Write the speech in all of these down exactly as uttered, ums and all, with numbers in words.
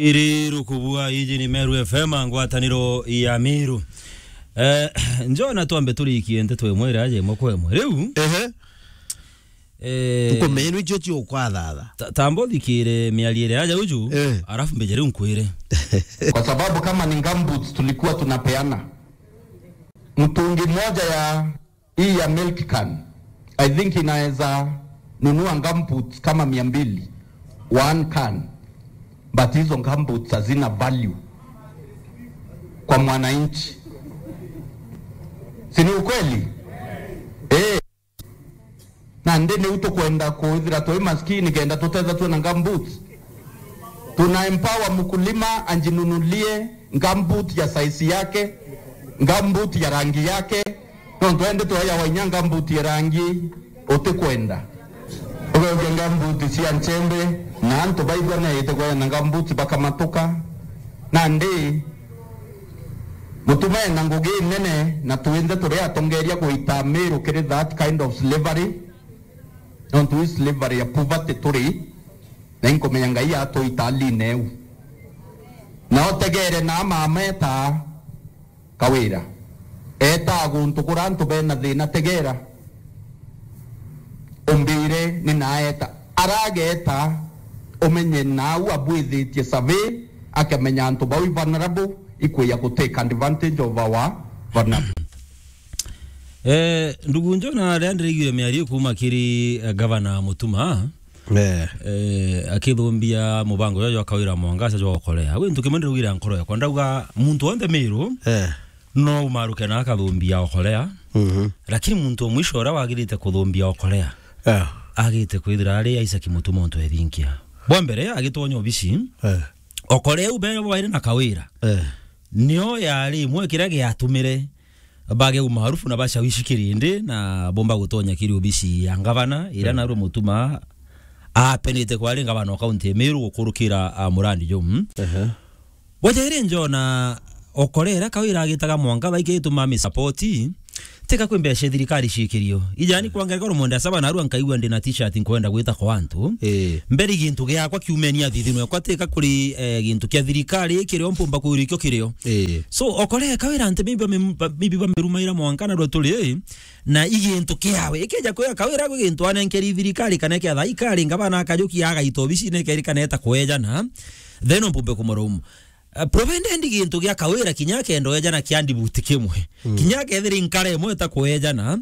Iri rukubua, iji ni Meru F M, ngwataniro ya Meru. Eh, njona twambe turikie nteto imwe ira aja imwe kwa imwe. Riu, Ehe. eh, Nkumenwa icio ciukwathatha. Ta-, tamba uthikire miario iria aja uju, Eh. arafu mbeje riu nkwire. Kwa sababu kama ni gumboots tulikuwa tunapeana, mtungi mmoja ya hii ya milk can, I think inaweza nunua gumboots kama mia mbili, one can. But hizo gumboots hazina value kwa mwananchi. Si ni ukweli? Eh. Na ndi niu tukwenda kwithira twi maskini kenda tutethwa twina gumboots. Tuna empower mkulima anjinunulie gumboot ya size yake, gumboot ya rangi yake. Nontu endi tweejawa inya gumboot ya rangi utikwenda. Ugeukia gumboot cia nchembe, na antu baigua neete kwenda gumboot bakamatuka. Nandi, Mutuma ena ngugi nene, na twinthe turi atongeria gwita Miru kiri that kind of slavery. Nontu ii slavery ya poverty turi, na inkumenya Ngai atwita aline eu. Na utegere na mama eta Kawira. Eta guntu kura antu bena thina, tegera. Umbire ni naeta. Arageta, umenye nau abwithitie survey, akamenya antu bau i vulnerable, ikwija ku take advantage of our vulnerable. Eh, ndugu Njona, aria ndiraiguire miario kuuma kiri, eh, gavana Mutuma, Eh. eh, akithumbia mubango jwa, jwa Kawira Mwangaza jwa ukorea. Gwi ntu kimwe ndiraugire nkoro yakwa, ndauga muntu onthe Miru Eh. no umaruke na akathumbia ukorea. Mhm. Lakini muntu o mwisho uria wagirite kuthumbia ukorea, Eh. agite kwithira ari Isaac Mutuma untu ethinkia. Bwa mbere, agitonya obisi, Eh. ukorea u bere bwaire na Kawira. Eh. Nio yari imwe kiria giatumire bage umaarufu na bashawishi kirindi na bomba gutonya kiri obisi ya ngavana, ira Mm. narua Mutuma apenite kwari ngavana o kaunti ya Meru gukurukira, a, Murandi Joe. Mm. Ehe. Wajaire Njona, ukorea Kawira agitaga Mwangaza ikituma amisapoti, tika kwi mbeca thirikari ciikirio. Ijani kwa ngerekano, mwenda saba narua nkaigua ndina t-shirt nkwenda gwita kwa antu. Eh. Mbere gintu giakwa kiumeni athithino yakwa tika kuri, eh, gintu kia thirikari kirio mpumba kwirikio kirio. Eh. So, ukorea Kawira anti maybe bame-, ba-, maybe bamerumaira mwanka narua turi, eh, na igintu kiawe. Ikija kwira Kawira gwi gintu anenkeri thirikari kana kia thaikari, ngavana akajukia agaita obisine keri kana eta kwejana, then mpumbe kumurumu. Uh, provided gintu gia Kawira kinya kenda ejana kia ndibuti kimwe. Mm. Kinya kethira inkara imwe ta kwejana,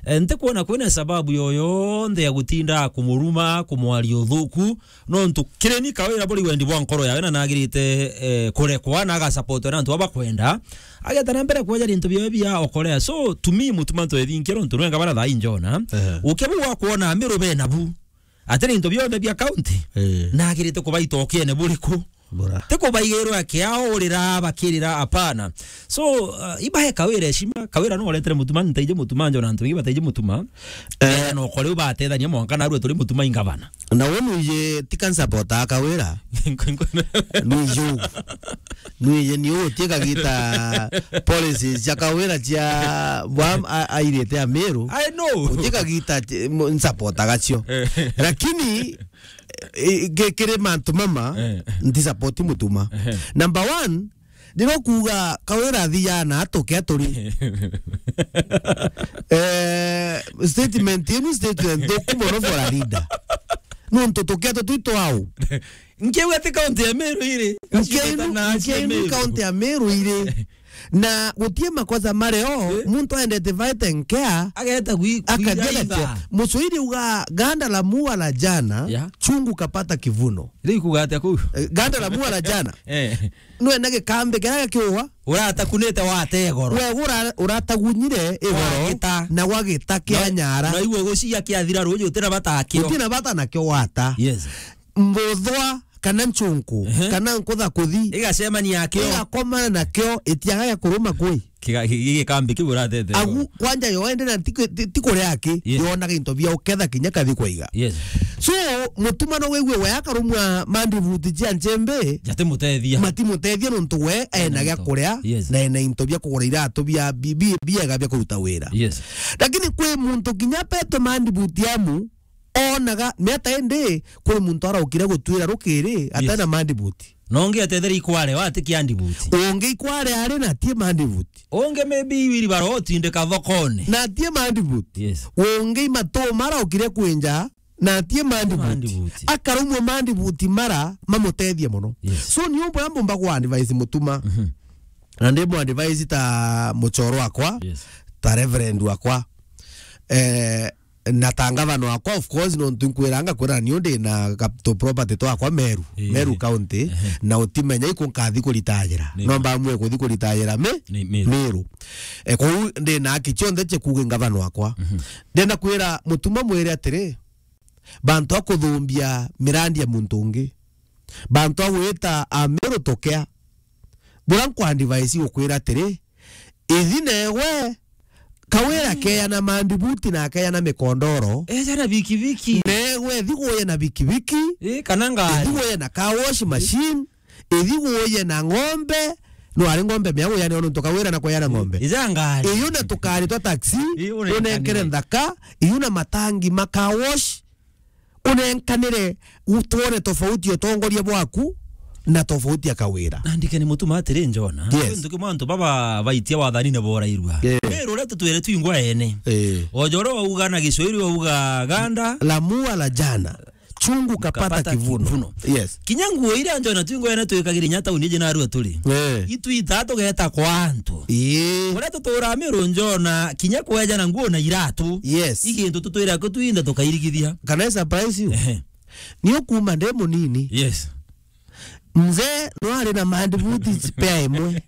eh, ntikwona kwina sababu yoyonthe ya gutinda kumuruma, kumwaria uthuku, nontu kireni Kawira buri wendi bwa nkoro yawe na nagirite, eh, kurekwa na agasapotwa na antu aba kwenda. Ageta na mbere kweja gintu biawe bia ukorea. So, to me, Mutuma ntwethinkia nontu nwenga bara thaa injona. Ehe. Uke bu wakwona Miru bena bu. Atiri into bionthe bia county, Eh. nagirite kubaita ukiene buriku? Bura. Ti kubaigirwa kiao urira bakirira, apana. So, uh, ibahe Kawira heshima, Kawira no uretere Mutuma, ntaije Mutuma, Njona antu baingi bataije Mutuma. Eh. Eh, no kore ubatethania mwanka narua turi Mutuma ingavana. Na we nwije tika nsapota Kawira. Nwije u. Nwije ni utie kagita policies cia Kawira cia bwa a-, airite Amiru. I know. Utie kagita ti-, mo-, nsapota gacio. Eh. Lakini, eh, ki-, kiri mantu mama, Eh. nti support Mutuma. Eh. Number one, ndiro kuuga Kawira athia na atuke aturi. Eh, statement inu statement thuku mono for a leader. Nontu tukia tutwi twau. Nkiuga ti county ya Meru iri. Nkienu, na nkienu Meru. County ya Meru iri. Na gutie makosa mareo, Eh? muntu aendete fight and care, Ageta gwi-, akathia gwira gatia. Itha. Mucwiri uga ganda la mua la jana, Yeah. chungu kapata kivuno. Riu kuga atia kuu? Eh, ganda la mua la jana. Eh. Nwe na gikambi kiria kiuwa. Uratakunite wate goro. We ura-, uratagunyire igoro Wagita. Na gwagita kia Na, nyara. Na igwe gucia kiathira ruji utina bata akio. Utina bata nakio wata. Yes. Mbuthwa kana nchunku, Ehe. kana nkutha kuthi. Igacemania akio. Igakomana nakio, itiaga gia kuruma kwi. Kiga-, gi-, gi-, gikambi kiu uratete. Agu, kwanja yo ende na ti ku-, ti, ti kuria aki, Yes. yona gintu bia uketha kinya kathi kwaiga. Yes. So, Mutuma no wigue we akarumwa mandibuti cia nchembe, Jati mutethia. Mati mutethia nontu we ena gia Into. Kuria, Yes. na ena into bia kugura iratu bia bi-, bi-, biega bia kuruta wira. Yes. Lakini kwi muntu kinya petwe mandibuti amu, onaga, miata indi, kuri muntu araukire gutwira rukiri, atena Yes. mandibuti. Na ungi atethere ikware, wa ati kiandibuti. Ungi ikware ari na atie mandibuti. Ungi maybe iwiri barotindika thokone. Na atie mandibuti. Yes. Ungi matu maraukire kwinja, na atie mandibuti. Mandibuti. Akarumwa mandibuti mara mamutethie mono. Yes. So, ni umwe ambumba kwa advice mutuma. Mhm. Na ndi mu advice ta muchoro wakwa, Yes. ta reverend wakwa. Eh, na ta ngavana wakwa, of course, nontu nkwiranga kwira ni ndi na capital property twakwa Meru, Ii. Meru County, Ehe. na utimenya iku nkathi kuritagira. Ni No ma. mbamwe kuthi kuritagira mi, Ni Meru. Meru. Eh, kou ndi na haki cionthe cia kuuga ngavana wakwa. Mhm. Ndenda kwira mutuma mwire atiri, bantu a kuthumbia mirandi ya muntu ungi, bantu a gwita a Meru tukea, bura nkwa advice gukwira atiri, ithi newe, Kawira Mm. keana mandibuti na keana mikondoro. Eja na bikibiki. Newe ithi guye na bikibiki. Ii, kana ngari. Ithi guye na car wash machine. Ithi guye na ng'ombe. No ari ng'ombe mea guya ni nontu Kawira na kuya na ng'ombe. Ija ngari. Iyu na tukari twa taxi, Ii, unenkere. unenkere nthaka, iyu na matangi ma car wash, unenkanire, u-, twone tofauti ya utongoria bwaku na tofauti ya Kawira. Na ndike ni mutuma atiri, Njona. Yes. Kintu kimwe antu baba baitia wathanine borairua. Yeah. Meru uria tutwire twingwa ene. Eh. Ojo uria wauga na Gicwahili wauga ganda. La mua la jana. Chungu kapata Kapata kivuno. kivuno. Yes. Kinya nguo iria Njona twingwa ene twikagira inya tauni iji narua turi. Eh. Itwita tugeta kwa antu. Ii. Uria tutura Meru, Njona, kinya kweja na nguo na iratu. Yes. Igintu tutwira kutwinda tukairigithia. Can I surprise you? Ehe. Ni ukuma ndi munini. Yes. Mzee no ari na mandibuti spare imwe.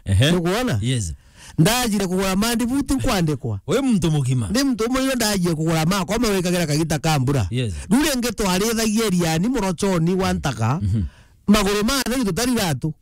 Ehe. Nukuona? Yes. Ndajire kugura mandibuti nkwandikwa. We muntu mugima. Ndi muntu umwe ino ndajire kugura makwa mawikagira kagita ka mbura. Yes. Riu ringi twarithagia iriani murochoni wa ntaka. Mhm. Maguru ma atheri tutari iratu.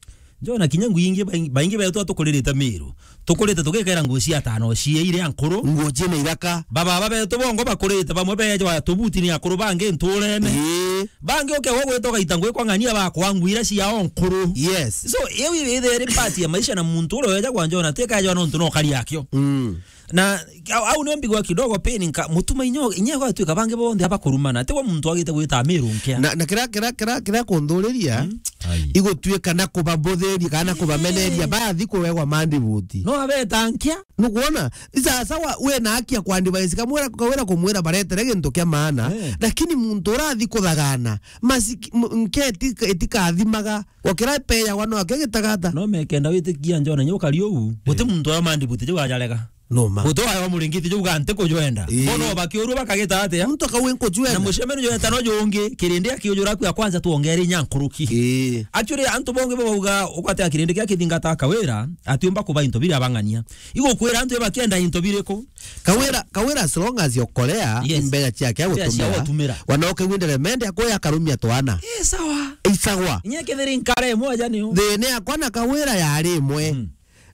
Njona kinya ngui ingi baingi, baingi betu tukuririte Meru. Tukurite tugikera nguo cia tano cia iria nkuru. Nguo ciina iraka. Baba, baba betu bongo bakurite, bamwe bejwa tubuti ni akuru bangi nturene. Ii. Bangi ukegwa gwita ugaita ngui kwa ng'ania bakwa nguo iria cia o nkuru. Yes. So, iu ithe iri part ya maisha na muntu uria weja kwa Njona, tika jwa nontu no kari akio. Mm. Na au, au nio mbigwa kidogo pain nka, mutuma inyo, inye gwatuika bangi bonthe abakurumana. Tigwa muntu agite gwita Meru nkia. Na, na kira, kira, kira, kira kunthuriria, Mm. Ai. Igutwika na kubambuthiria kana kubameneria, Ii. bathi kuwegwa mandibuti. No abeta nkia. Nukuona? Sasa wa, we na haki ya kwa advice, kamwira, kawira kumwira baretere gintu kia maana, Eh. lakini muntu urathi kuthagana, masiki-, m-, nke itika-, itikathimaga, gukira ipeyawa no akegitagata. No mekenda witikia Njona nyo kari uu, guti Eh. muntu ayo mandibuti jau ajarega. No ma. Guti ayo muringiti jau ga nti kujwenda. Eh. Bono bakiurua bakagita atia? Muntu akauga nkujwenda. Na mucemanio jweta no jungi, kirindi akiujura ku ya kwanza tuongere inya nkuruki. Eh. Actually, antu bongi bauga, ukwate kirindi kia kithingata Kawira, atiumba kuba into biria abang'ania. Igukwira antu bakienda into biriku? Kawira, Kawira, as long as yokolea, Yes. imbeya ciake Imbeya cia agutumira. gutumira. Wanoke windere mende akoya akarumia twana. Eh, sawa. Isagwa. Inye kethiri nkare imwe aja niu. Thina yakwa na Kawira yari imwe. Mm.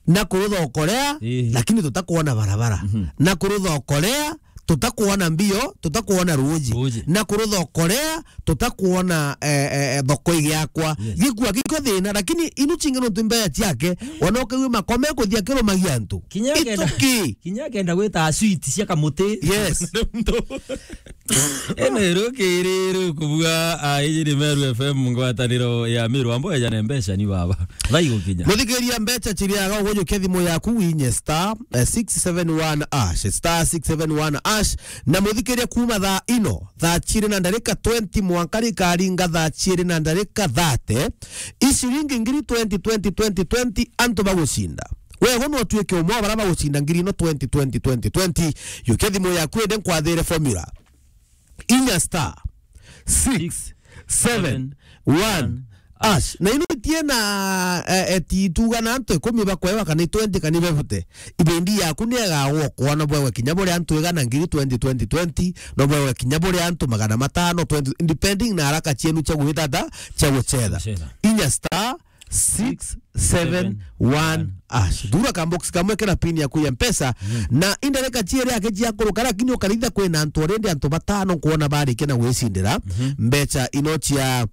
Na kurutha ukorea, Ii. lakini tutakuona barabara. Mhm. Na kurutha ukorea, tutakuona mbio, tutakuona ruuji. Ruuji. Na kurutha ukorea, tutakuona, eh, eh, eh, thoko igiakwa. Yes. Gikua giko thina, lakini inu chingi nontu imbeya ciake, wanoke wi makome kuthia kirumagia antu. Kinya It's akenda, okay. kinya akenda gwita sweet cia kamuti. Yes. Ene rukiri rukubua, ah, iji ni Meru F M, ngwataniro ya Meru, ambo eja na mbeca ni baba. Thai gukinya. Muthikiria, mbeca chiriaga ugujukia thimu yaku winye star, eh, six seven one hash, star six seven one hash, na muthikiria kuma thaa ino, thaa chiri na ndarika twenty mwanka rikaringa thaa chiri na ndarika thirty, iciringi ngiri twenty, twenty, twenty, twenty, antu bagucinda. Wego no tuike umwe wa bara bagucinda ngiri ino twenty, twenty, twenty, twenty. Yukia thimu yaku ende nkwathire formula. Inya star six seven one hash. Na ino itie na, eh, eh, ti tuga na antu ikumi bakwewa kana twenty kana bebute. Ibendi yaku ni egagwo kwona bwewe kinya buri antu igana ngiri twenty, twenty, twenty, no bwewe kinya buri antu magana matano, twenty, depending na haraka cienu cia gwitata, cia gucetha. Gucetha. Inya star six seven one hash. Thura ka box kamwe kena pin yaku ya Mpesa, Mm. na indareka chiere yake chia kuruka, lakini ukaritha kwina antu already antu batano kuona barikia na gwicindira Mhm. mbeca ino cia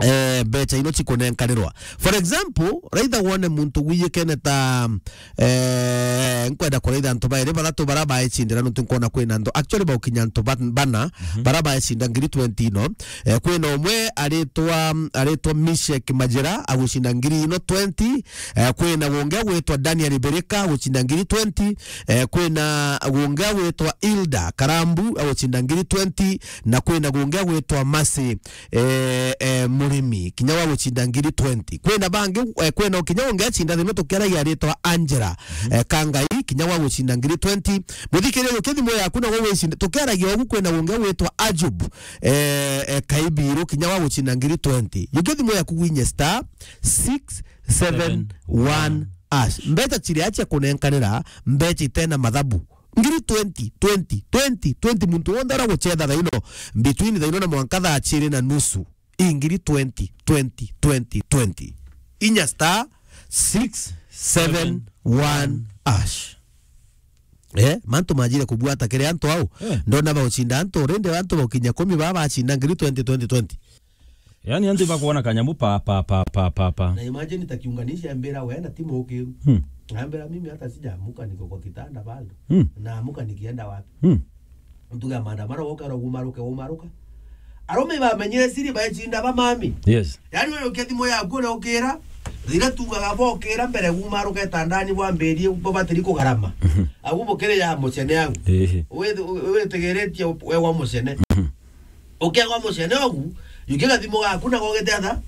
eh, mbecha ino cikunenkanirwa. For example, raitha wone muntu gwiyikene ta, eh, nkwenda kuraitha antu bairi bathatu bara baicindira, nontu nkwona kwina antu, actually, baukinya antu ban-, bana, mhm, bara baicinda ngiri twenty ino. Eh, kwina umwe aritwa, aritwa Mishek Majira, agucinda ngiri ino twenty. Eh, kwina gungi agwitwa Daniel Birika, agucinda ngiri twenty. Eh, kwina gungi agwitwa Hilda Karambu, agucinda ngiri twenty. Na kwina gungi agwitwa Mercy, eh, eh, Murimi, kinya wa gucinda ngiri twenty. Kwina bangi, eh, kwina kinya ungi acinda thimo tukiaragia aritwa Angela, mhm, eh, Kangai, kinya wa gucinda ngiri twenty. Muthikiria, yukia thimu yaku na gugwicinde. Tukiaragia ugu, kwina ungi agwitwa Ajub, eh, eh, Kaibiru, kinya wa gucinda ngiri twenty. Yukia thimu yaku gwinye star six seven one hash. Mbecha ciria cia kunenkanira, mbecha itena mathabu. Ngiri twenty, twenty, twenty, twenty, muntu wonthe ura gucetha thaino, between thaino na mwanka thaa ciiri na nusu. Ingiri twenty, twenty, twenty, twenty. Inya star six seven one hash. Eh, mantu majire kubwata kiri antu au. Eh. Ndona baucinda antu, rindi antu baukinya kumi baba bacinda ngiri twenty, twenty, twenty. Yani, antu bakuona kanyamu pa, pa, pa, pa, pa, pa. Na imagine ta kiunganisha mbira we na timu ukiru. Hmm. Na mbira mimi hata sijaamuka, niko kwa kitanda bado. Hmm. Naamuka nikienda wapi? Hmm. Ntuga maandamano gokera umaruke, umaruka. Arume bamenyire siri baecinda ba mami. Yes. Yani, we ukia thimu yaku uria ukira, rira tugaga bokira mbere umaruke tandani bwambirie bo batiri kugarama. Mhm. Agu bukiri ya mucene agu. Ehe. Withe-, wi-, witigiritie we wa mucene. Mhm. Ukiagwa mucene ogu, yukia gathimu gaku na gogete atha,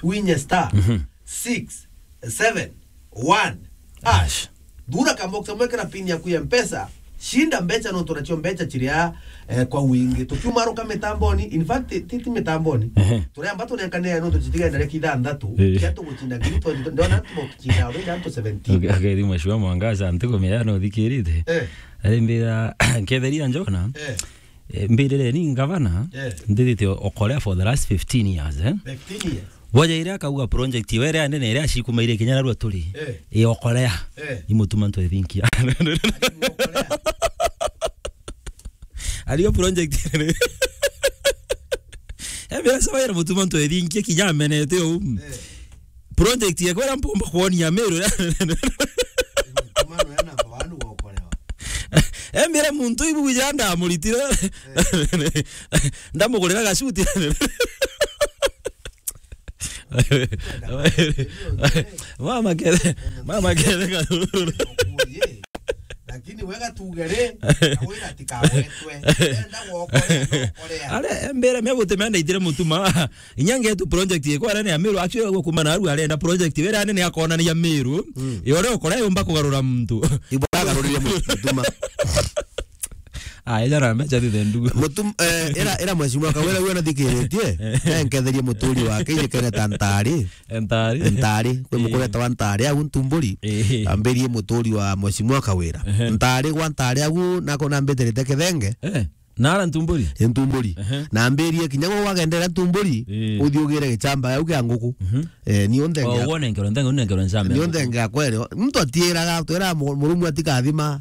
winye star, mhm, six seven one hash. Thura kabox kamwe kira pin yaku ya Mpesa, shinda mbecha nontu nacio mbecha chiria, eh, kwa wingi. Tukiumaruka mitamboni, in fact, ti, ti mitamboni. Ehe. Turiamba tunenkanire nontu chitigaenda reki ithanthatu, eh, kia tuguchinda ngiri twenty, ndona tuguchinda already antu seventeen. Okay, okay, thimu cia Mwangaza, ntikumenya no thikirite. Eh. Ari mbira, nketheria Njona. Eh. Eh, mbirire ni ngavana, eh, nthithite o-, Okolea for the last fifteen years, eh? Fifteen years. Boja iria akauga project iwe iria nene iria acikumaire kinya narua turi, eh, i Okolea. Eh. Imutuma ntwethinkia. Okolea. Ariyo project. Ebe sabaira mutuma ntwethinkia kinya amenete u. Eh. Project yekwa iria mpomba kwonia Meru. Mtumano ya namba one gwokorewa. Embire muntu ibu wija ndamuritire. Eh. Ndamugurira gacuti. Mama kere, mama kere karuru. Lakini wega tuge ri, na wira tikagwetwe. Enda gwokorea, gwokorea. Are, mbere me gute me ndaitire mutuma. Inya ngetu project ikwa arene ya Meru, actually gukuma na aru arenda project wera nene akonania Meru. Mm. Yore okora yomba kugarura muntu. Ibo agarurire mutuma. Ah, ejara mbecha thithe ndugu. Mutum-, eh, era, era mheshimiwa Kawira uyo nathikiritie. Eh. Eh, nketherie muturi wake, ije kene ta Ntari. Ntari. Ntari, kwi, eh, mukureta wa Ntari, au Ntumburi. Eh. Ambirie muturi wa mheshimiwa Kawira. Ehe. Ntari gwa Ntari au, nako nambiterite Kithenge. Eh. Nara Ntumburi? Ntumburi. Ehe. Na ambirie kinya gwe wagendera Ntumburi, eh, uthi ugire gichamba au kia nguku. Mhm. Eh, ni onthe. Oh, ngia-, wone ngero, ntenge, wone ngero nchamba ni ya onthe nguku. Ngia kwere. Muntu atiiraga, twira mu-, murumu atikathima.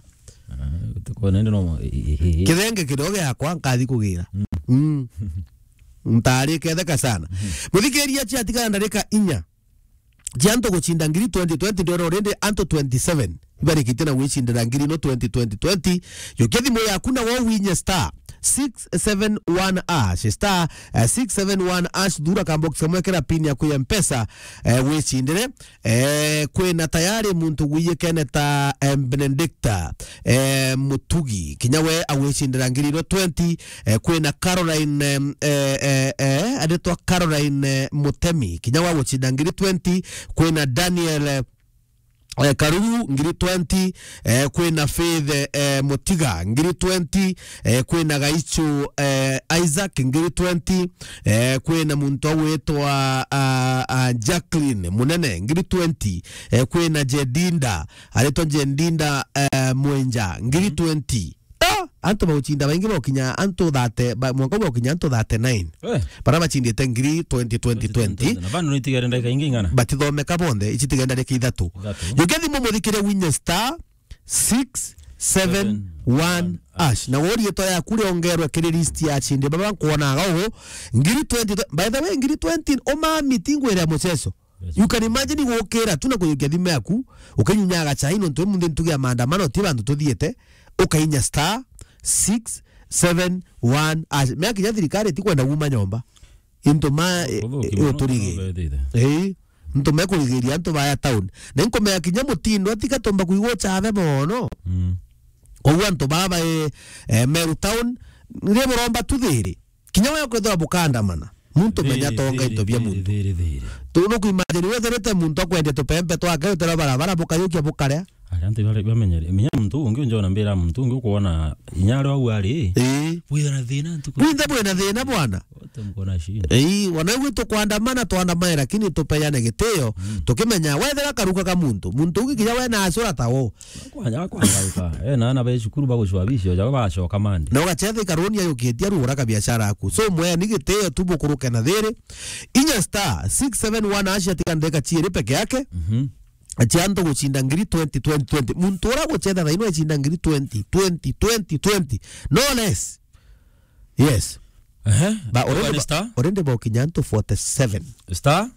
Ah, tuko nende no mo-, i-, i-, i-, i-. Kithenge kidogo giakwa nkathi kugira. Mm. Mm. Ntari ketheka sana. Mhm. Muthikiria, ciatigara ndarika inya cia antu gucinda ngiri twenty twenty, ndona already antu twenty-seven ibarikite na gwicindira ngiri ino twenty twenty twenty. Yukia thimu yaku na wo winye star six seven one hash, star, eh, six seven one hash, thura kabox kamwe kira pin yaku ya Mpesa, eh, wicindire. Eh, kwina tayari muntu gwiyikene ta, eh, Benedicta, eh, Mutugi, kinya we agwicindira ngiri ino twenty. Eh, kwina Caroline, em, eh, eh, eh, aritwa Caroline, eh, Mutemi, kinya wa gucinda ngiri twenty. Kwina Daniel, eh, eh, Karuru, ngiri twenty. Eh, kwina Faith, eh, Mutiga, ngiri twenty. Eh, kwina Gaichu, eh, Isaac, ngiri twenty. Eh, kwina muntu agwitwa, ah, ah, Jacqueline Munene, ngiri twenty. Eh, kwina Jedinda, aritwa Jedinda, eh, Mwenja, ngiri twenty. Ah, antu baucinda baingi baukinya antu thirty, ba-, mwanka baukinya antu thirty-nine. Eh. Bara bacindite ngiri twenty twenty twenty. Na bado nitigere ndagika ingi ingana? Batithomeka bonthe, ici tigenda ndagika ithatu. Ithatu. Yukia thimu muthikire winye star six seven one hash. Na woria itwa yaku riongerwe kiri list ya chinde baba nkuonaga ugu. Ngiri twenty, by the way, ngiri twenty, uma meeting gwira mucheso. Yes. You can imagine gukira tu na kuyukia thimu yaku, ukinyunyaga chai nontu munthi ntugi ya maandamano ti bantu tuthiete, ukainya star six seven one hash. Mea kinya thirikari ti kwenda guma nyomba. Into ma, e, Uthuki e, muno uturigi. Uthuki. Ii. Into me kurigiria antu baya town. Na inkumea kinya mutindo atiga tumba kuigua chabe mono. Mm. Koguo antu baba, e, e, Meru town, ni buromba tu thiri. Kinya we kwithira bukandamana. Muntu menya tonga into bia muntu. Thiri, thiri. Tu no kuimagine wetherete muntu akwende tupempe twake utera barabara bukayukia bukaria. Ari antu bari bamenyere. Menya muntu ungi unjona mbira muntu ungi ukuona inya ari au ari. Ii. Withira na thina ntuku. Winthe bwina thina bwana. Wote mko na shida. Ii, wana gwitu kwandamana twandamane lakini tupeyane gitio. Mm. Tukimenya wethira karuka ka muntu. Muntu ungi kinya we na acura ta wo. Kwanja kwangauka. Eh, na ana be cukuru bagucwa bicio, jabo bacoka mandi. Na ugacetha ikaruni ayukitie arugura ka biashara yaku. So mwe ni gitio tu bukuruke na thiri. Inya star six seven one hash atika ndeka chiiri peke yake. Mhm. Chia antu guchinda ngiri twenty, twenty, twenty. Muntu ura gucetha thaino acinda ngiri twenty, twenty, twenty, twenty. No less. Yes. Ehe. Ba already ba, star? Already ba ukinya antu forty-seven. Star?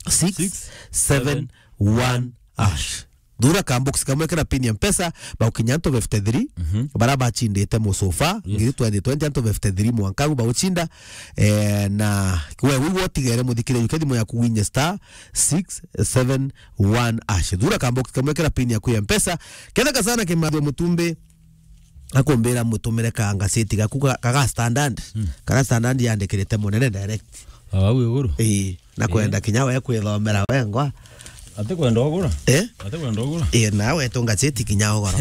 Six seven one hash. Thura ka box kamwe kena pin ya Mpesa, ba ukinya antu fifty-three, mhm, bara bachindite musofa, yes, ngiri twenty twenty, antu fifty-three mwanka gu ba uchinda, eh, na we wigu utigere muthikire yuke thimu yaku winye star six seven one hash. Thura ka box kamwe kena pin yaku ya Mpesa, ketheka sana kimathio mutumbi, akumbira mutumire ka ngaseti gaku ka, kaga standard. Mm. Kaga standard yandikirite munene direct. Au iguru? Ii, na kwenda kinya we kwithomera wengwa. Ati kwenda ugura? Eh? Ati kwenda ugura? Ii, nawe tu ngaseti kinya ugoro.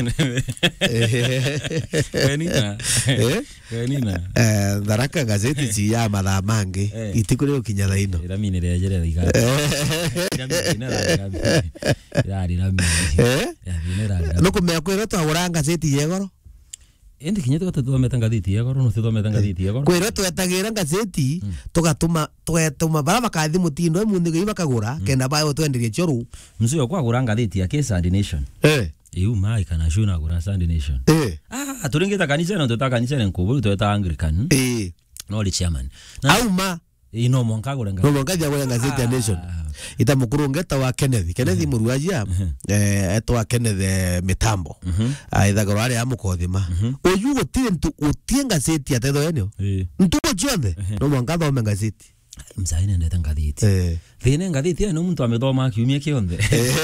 Kanina. Eh? Kanina. Eh, Tharaka gazeti ci ya mathaa mangi. Eh. Itiku ri ukinya thaino. Iramini ria jere riga. Eh. Iramini ria riga. Irari rami. Eh? Ya, thina irari rami. Nukumenya kwirwo twagura ngatheti ya igoro? Indi kinya tuga tuthomete ngatheti ya igoro, no tuthomete ngatheti ya igoro. Kwirwo twetagira ngatheti, mm, tugatuma, tugetuma bara bakathi mutindo, e munthi gei bakagura, mm, kenda bae utwenderie cio ruu. Mzee okwa agura ngatheti ya ke Sunday Nation. Eh. Iu mai kana shu na agura Sunday Nation. Eh. Ah, turingita kanisa no tuta kanisa ne nkuburu tweta Anglican. Eh. No ri chairman. Na auma. Ii, no mwanka agure ngatheti. No mwanka agure ngatheti ya Nation. Ah. Ita mukuru ngeta wa Kenneth. Kenneth, mhm, Muruajia, mhm, eh, etwa Kenneth, eh, Mitambo. Mhm. Ah, ithagirwa ari amukothima. Mhm. Uyu gutiri ntu, gutiri ngatheti ya tetho yenio. Ii. Ntuku cionthe, ehe, no mwanka athome ngatheti. Mzai nendete ngatheti. Eh. Thina ngatheti, no muntu amithoma kiumia kionthe. Eh.